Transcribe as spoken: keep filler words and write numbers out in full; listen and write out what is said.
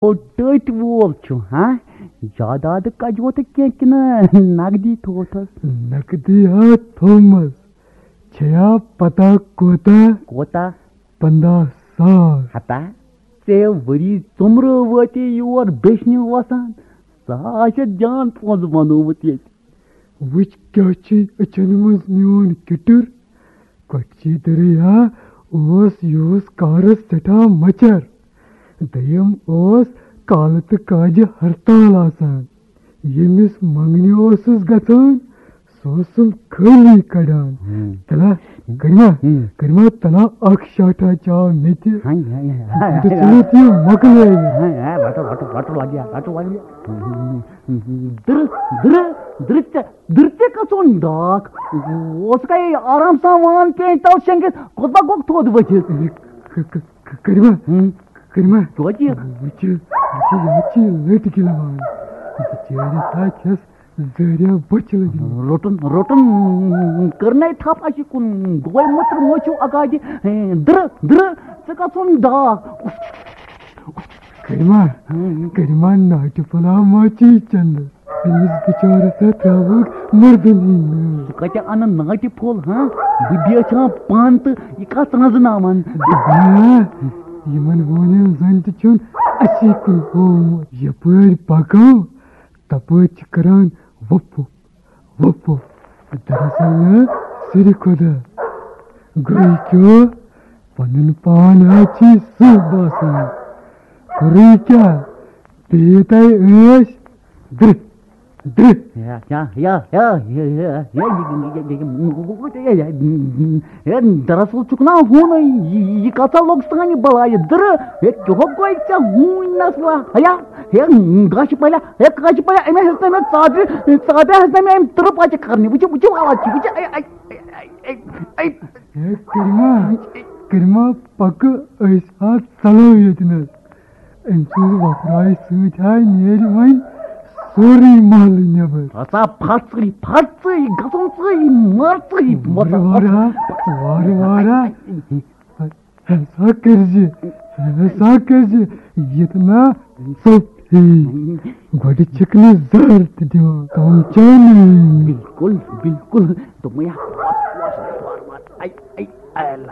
او ٹٔٹۍ وول چھُ، ہاں؟ جادادٕ کجوتہٕ کینٛہہ کِنہٕ نقدی تھووتھس؟ نقدی ہا تھومس۔ چھیا پتہ کوتاہ؟ کوتاہ؟ پنٛداہ ساس۔ ہتا، ژےٚ ؤری ژوٚمرٕ وٲتی یور بیچھنہِ وسان۔ سُہ ہا چھُ جان پونٛسہٕ بنوومُت ییٚتہِ۔ وٕچھ کیٛاہ چھُے أچھن منٛز میون کِٹُر۔ کۄٹھچی دٔرٕے ہا اوس یِہُس کارس سٮ۪ٹھاہ مۄچر۔ دوٚیِم اوس کالہٕ تہٕ کاجہِ ہرتال آسان۔ ییٚمِس منٛگنہِ اوسُس گژھان، سُہ اوسُم خٲلی کڑان۔ ہم۔ تلا، ہم۔ کٔرِما، ہم۔ کٔرِما تلا اکھ شاٹھا چاو مےٚ تہِ۔ ہاے، ہاے، ہاے، ہاے، تہٕ ہاے، ژٕ ہاے۔ مےٚ تہِ مۄکلٲوِتھ۔ ہاے، ہاے، رٹو، رٹو، رٹو لگیا، رٹو لگیا۔ درٕ، درٕ، درٕ ژےٚ۔ دٕرتہِ کَژھُن ڈاکھ۔ اوس کَے آرام سان وان پیٚنٛج تَل شیٚنٛگِتھ، کوٚت با گوٚکھ تھوٚد ؤتھِتھ؟ ک-، ک-، ک-، کٔرِو ما؟ ہُم۔ کٔرِو ما؟ توتہِ؟ وٕچھِو، وٕچھِو، یہِ حظ چھِ لٔٹۍ گِلوان۔ بِچٲرِس ہا چھَس زہریا بۄچھِ لٔجمٕژ۔ روٚٹُن، روٚٹُن، کٔرنَے تھَپھ اَسہِ کُن۔ گوے مٔتٕر مٔچھِو اَکادِ۔ ہے، دٕرٕ، دٕرٕ، ژٕ کَژھُن ڈاکھ؟ کٔرِو ما؟ ہُم۔ کٔرِو ما ناٹہِ پھوٚلہ ما چی چنٛدٕ؟ أمِس بِچارَس ہا ترٛاوہوکھ مردن ہٕنٛدۍ نٲلۍ۔ ژٕ کَتہِ اَنَن ناٹہِ پھوٚل، ہاں؟ بہٕ بیچھان پانہٕ تہٕ یہِ کَتھ رَنٛزناوَن؟ آ، یِمَن ہوٗنٮ۪ن زَن تہِ چھُنہٕ اَسی کُن ہوومُت۔ یَپٲرۍ پَکو، تَپٲرۍ چھِ کَران وُپھ وُپھ، وُپھ وُپھ۔ دَراصل نہٕ سِرِ خۄدا۔ گوٚو کیٛاہ؟ پَنُن پان ہا چھی سٕہہ باسان۔ کوٚرُے کیٛاہ؟ بِہِتھ ہے ٲسۍ درٕہ، درٕہ۔ یا، یا، یا، یا، یا، یا، یا، یا، یا، یا، یا، یا، یا، یا، یا، یا، یا، یا، یا، دراصل چھُکھ نا ہوٗنٕے، یہِ، یہِ کَتھا لوٚگ سانہِ بَلایہِ دٕرٕ۔ ہے، کیٛاہ گوٚو ژےٚ ہوٗنۍ نسلہ؟ ہیا، ہے، گاشہِ پَلیا، ہے، گاشہِ پَلیا، أمۍ ہیٚژ نہٕ مےٚ ژادرِ، ژادرِ ہیٚژ نہٕ مےٚ أمۍ تٕرٕ پَچہِ کَرنہِ۔ وٕچھِو، وٕچھِو، حالات چھِ، وٕچھِو، اے، اے، اے، اے، اے، اے۔ ہے کٔرِما، کٔرِما پَکہٕ أسۍ ہا ژَلو ییٚتہِ نَس۔ أمۍ سٕنٛز وۄپھراے سۭتۍ ہاے نیرِ وۄنۍ سورُے محلہٕ نٮ۪بر۔ ہسا پھَژٕے، پھَژٕے، گژھُن ژٕے، مَر ژٕے، وارٕ وارٕ ہا، وارٕ وارٕ ہا۔ ہسا کٔرزِ، ہسا کٔرزِ، ییٚتہِ نا ژوٚپ ہیٚیہِ۔ گۄڈٕ چھِکھ نہٕ زہر تہِ دِوان، کَم چاونہٕ۔ بِلکُل، بِلکُل۔ دوٚپمَے ہا، وارٕ وارٕ، وارٕ وارٕ۔ اَے، اَے، اَے۔